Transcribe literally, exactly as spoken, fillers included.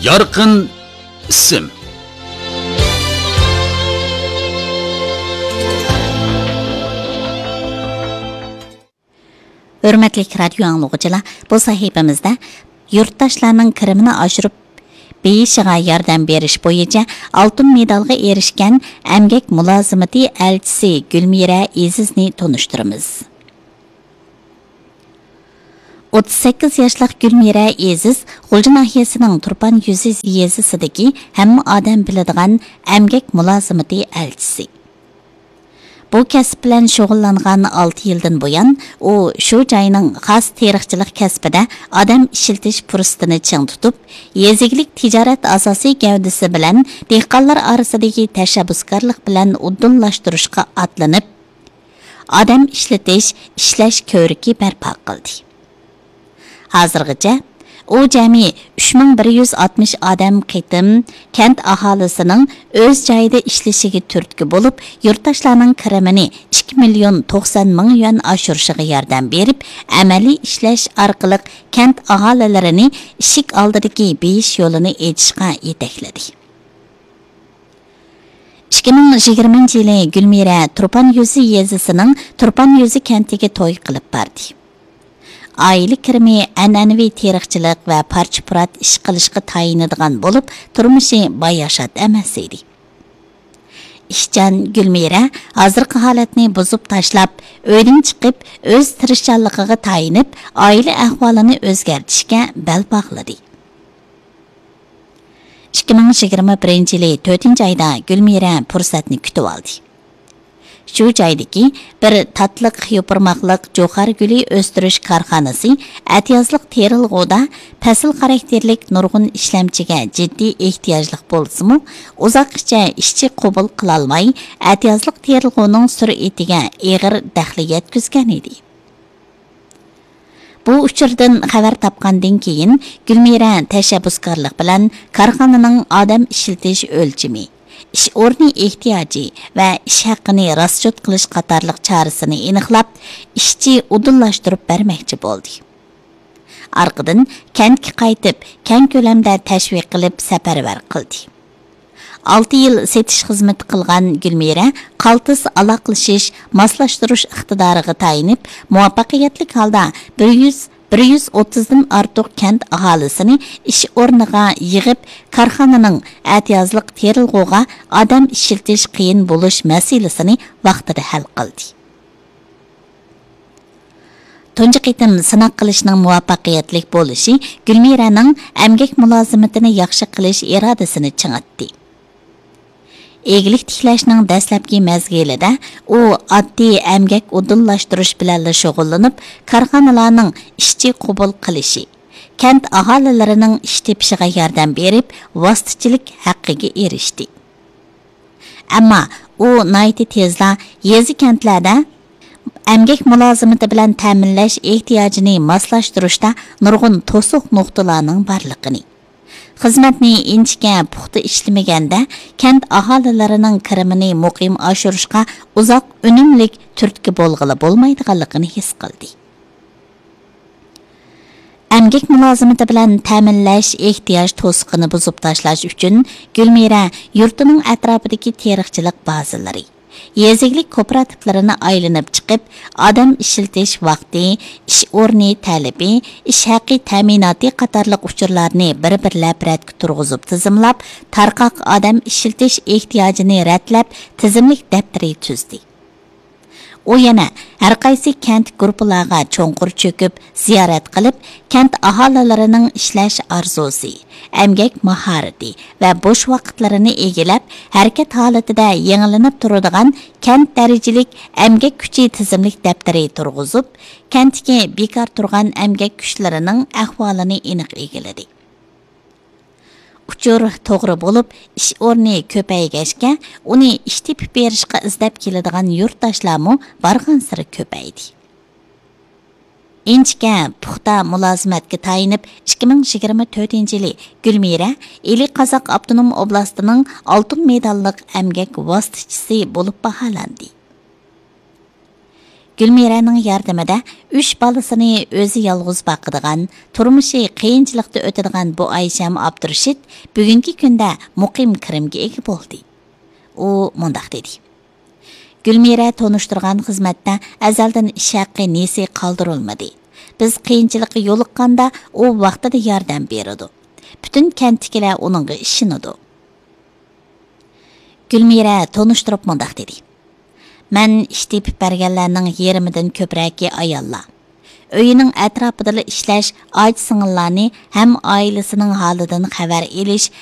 يارقىن ئىسىم. ھۆرمەتلىك رادىيو ئاڭلىغۇچىلار، بۇ سەھىپىمىزدە يۇرتداشلارنىڭ كىرىمىنى ئاشۇرۇپ بېيىشىغا ياردەم بېرىش بويىچە ئالتۇن مېدالغا ئېرىشكەن ئەمگەك مۇلازىمىتى ئەلچىسى گۈلمىرە ئېزىزنى تونۇشتۇرىمىز. ئوتتۇز سەككىز ياشلىق گۈلمىرە ئېزىز غۇلجا ناھىيەسىنىڭ تۇرپان يۈزى يېزىسىدىكى ھەممە ئادەم بىلىدىغان ئەمگەك مۇلازىمىتى ئەلچىسى. بۇ كەسىپ بىلەن شۇغۇللانغان ئالتە يىلدىن بۇيان، ئۇ شۇ جاينىڭ خاس تېرىقچىلىق كەسپىدە ئادەم ئىشلىتىش پۇرسىتىنى چىڭ تۇتۇپ، يېزا ئىگىلىك تىجارەت ئاساسىي گەۋدىسى بىلەن دېھقانلار ئارىسىدىكى تەشەببۇسكارلىق بىلەن ئۇدۇللاشتۇرۇشقا ئاتلىنىپ، ئادەم ئىشلىتىش، ئىشلەش كۆۋرۈكى بەرپا قىلدى. ھازىرغىچە ئۇ جەمئىي ئۈچ مىڭ بىر يۈز ئاتمىش ئادەم قېتىم كەنت ئاھالىسىنىڭ ئۆز جايىدا ئىشلىشىگە تۈرتكە بولۇپ، يۇرتداشلارنىڭ كىرىمىنى ئىككى مىليون توقسان مىڭ يۈەن ئاشۇرۇشىغا ياردەم بېرىپ، ئەمەلىي ئىشلەش ئارقىلىق كەنت ئاھالىلىرىنى ئىشىك ئالدىدىكى بېيىش يولىنى ئېچىشقا يېتەكلىدى. ئىككى مىڭ يىگىرمىنچى يىلى گۈلمىرە تۇرپان يۈزى يېزىسىنىڭ تۇرپان يۈزى كەنتىگە توي قىلىپ باردى. ئائىلە كىرىمى ئەنئەنىۋى تېرىقچىلىق ۋە پارچە-پۇرات ئىش قىلىشقا تايىنىدىغان بولۇپ، تۇرمۇشى باياشات ئەمەس ئىدى. ئىشچان گۈلمىرە ھازىرقى ھالەتنى بۇزۇپ تاشلاپ، ئۆيدىن چىقىپ، ئۆز تىرىشچانلىقىغا تايىنىپ، ئائىلە ئەھۋالىنى ئۆزگەرتىشكە بەل باغلىدى. ئىككى مىڭ يىگىرمە بىرىنچى يىلى تۆتىنچى ئايدا گۈلمىرە پۇرسەتنى كۈتۈۋالدى. شۇ جايدىكى بىر تاتلىق يوپۇرماقلىق جوخار گۈلى ئۆستۈرۈش كارخانىسى ئەتىيازلىق تېرىلغۇدا پەسىل خاراكتېرلىك نۇرغۇن ئىشلەمچىگە جىددىي ئېھتىياجلىق بولسىمۇ، ئۇزاققىچە ئىشچى قوبۇل قىلالماي، ئەتىيازلىق تېرىلغۇنىڭ سۈرئىتىگە ئېغىر دەخلى يەتكۈزگەن ئىدى. بۇ ئۇچۇردىن خەۋەر تاپقاندىن كېيىن، گۈلمىرە تەشەببۇسكارلىق بىلەن كارخانىنىڭ ئادەم ئىشلىتىش ئۆلچىمى، ئىش ئورنى ئېھتىياجى ۋە ئىش ھەققىنى راسچوت قىلىش قاتارلىق چارىسىنى ئېنىقلاپ، ئىشچى ئۇدۇللاشتۇرۇپ بەرمەكچى بولدى. ئارقىدىن كەنتكە قايتىپ، كەڭ كۆلەمدە تەشۋىق قىلىپ سەپەرۋەر قىلدى. ئالتە يىل سېتىش خىزمىتى قىلغان گۈلمىرە قالتىس ئالاقىلىشىش، ماسلاشتۇرۇش ئىقتىدارىغا تايىنىپ، مۇۋەپپەقىيەتلىك ھالدا بىر يۈز، بىر يۈز ئوتتۇزدىن ئارتۇق كەنت ئاھالىسىنى ئىش ئورنىغا يىغىپ، كارخانىنىڭ ئەتىيازلىق تېرىلغۇغا ئادەم ئىشلىتىش قىيىن بولۇش مەسىلىسىنى ۋاقتىدا ھەل قىلدى. تۇنجى قېتىم سىناق قىلىشنىڭ مۇۋەپپەقىيەتلىك بولۇشى گۈلمىرەنىڭ ئەمگەك مۇلازىمىتىنى ياخشى قىلىش ئىرادىسىنى چىڭىتتى. ئىگىلىك تىكلەشنىڭ دەسلەپكى مەزگىلىدە ئۇ ئاددىي ئەمگەك ئۇدۇللاشتۇرۇش بىلەنلا شۇغۇللىنىپ، كارخانىلارنىڭ ئىشچى قوبۇل قىلىشى، كەنت ئاھالىلىرىنىڭ ئىش تېپىشىغا ياردەم بېرىپ، ۋاسىتىچىلىك ھەققىگە ئېرىشتى. ئەمما ئۇ ناھايىتى تېزلا يېزا-كەنتلەردە ئەمگەك مۇلازىمىتى بىلەن تەمىنلەش ئېھتىياجىنى ماسلاشتۇرۇشتا نۇرغۇن توسۇق نۇقتىلارنىڭ بارلىقىنى، خىزمەتنى ئىنچىكە پۇختا ئىشلىمىگەندە، كەنت ئاھالىلىرىنىڭ كىرىمىنى مۇقىم ئاشۇرۇشقا ئۇزاق ئۈنۈملۈك تۈرتكە بولغىلى بولمايدىغانلىقىنى ھېس قىلدى. ئەمگەك مۇلازىمىتى بىلەن تەمىنلەش ئېھتىياج توسۇقىنى بۇزۇپ تاشلاش ئۈچۈن، گۈلمىرە يۇرتىنىڭ ئەتراپىدىكى تېرىقچىلىق بازىلىرى، يېزا ئىگىلىك كوپىراتىپلىرىنى ئايلىنىپ چىقىپ، ئادەم ئىشلىتىش ۋاقتى، ئىش ئورنى تەلىپى، ئىش ھەققى تەمىناتى قاتارلىق ئۇچۇرلارنى بىر-بىرلەپ رەتكە تۇرغۇزۇپ تىزىملاپ، تارقاق ئادەم ئىشلىتىش ئېھتىياجىنى رەتلەپ، تىزىملىك دەپتىرى تۈزدى. ئۇ يەنە ھەرقايسى كەنت گۇرۇپپىلارغا چوڭقۇر چۆكۈپ زىيارەت قىلىپ، كەنت ئاھالىلىرىنىڭ ئىشلەش ئارزۇسى، ئەمگەك ماھارىتى ۋە بوش ۋاقىتلىرىنى ئىگىلەپ، ھەرىكەت ھالىتىدە يېڭىلىنىپ تۇرىدىغان كەنت دەرىجىلىك ئەمگەك كۈچى تىزىملىك دەپتىرى تۇرغۇزۇپ، كەنتتىكى بىكار تۇرغان ئەمگەك كۈچلىرىنىڭ ئەھۋالىنى ئېنىق ئىگىلىدى. ئۇچۇر توغرا بولۇپ، ئىش ئورنى كۆپەيگەچكە، ئۇنى ئىش تېپىپ بېرىشقا ئىزدەپ كېلىدىغان يۇرتداشلارمۇ بارغانسېرى كۆپەيدى. ئىنچىكە، پۇختا مۇلازىمەتكە تايىنىپ، ئىككى مىڭ يىگىرمە تۆتىنچى يىلى گۈلمىرە ئىلى قازاق ئاپتونوم ئوبلاستىنىڭ ئالتۇن مېداللىق ئەمگەك ۋاسىتىچىسى بولۇپ باھالاندى. گۈلمىرەنىڭ ياردىمىدە ئۈچ بالىسىنى ئۆزى يالغۇز باقىدىغان، تۇرمۇشى قىيىنچىلىقتا ئۆتىدىغان بۇ ئايشەم ئابدۇرېشىت بۈگۈنكى كۈندە مۇقىم كىرىمگە ئىگە بولدى. ئۇ مۇنداق دېدى: «گۈلمىرە تونۇشتۇرغان خىزمەتتە ئەزەلدىن ئىش ھەققى نېسى قالدۇرۇلمىدى. بىز قىيىنچىلىققا يولۇققاندا، ئۇ ۋاقتىدا ياردەم بېرىدۇ. پۈتۈن كەنتتىكىلەر ئۇنىڭغا ئىشىنىدۇ.» گۈلمىرە تونۇشتۇرۇپ مۇنداق دېدى: «مەن ئىش تېپىپ بەرگەنلەرنىڭ يېرىمىدىن كۆپرەكى ئاياللار. ئۆيىنىڭ ئەتراپىدىلا ئىشلەش، ئاچا-سىڭىللارنى ھەم ئائىلىسىنىڭ ھالىدىن خەۋەر ئېلىش،